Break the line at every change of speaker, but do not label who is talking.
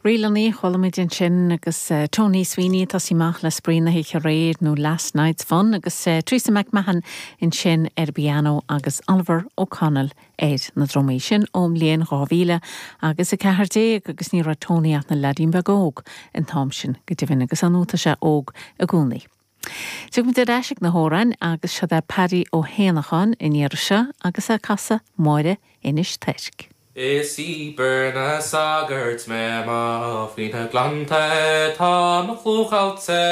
Ríleanna a chuala muid ansin agus Tony Sweeney ag tosaí amach le Spraoi na hOíche Aréir nó Last Night's Fun agus Teresa McMahon ansin ar an bpianó agus Oliver O'Connell ar na drumaí. Sin ón mbliain 2000 agus 14 agus ní raibh Tony ach ina leaidín beag óg an t-am sin go deimhin agus ar ndóigh tá sé óg i gcónaí. Tiocfaimid ar ais ag na hamhráin agus seod é Paddy Ó hÉanacháin an iarraidh seo agus é ag casadh Máire Inis Toirc.
Is í obair na sagart mé, má faoi na gleannta tá mo chlú caillte.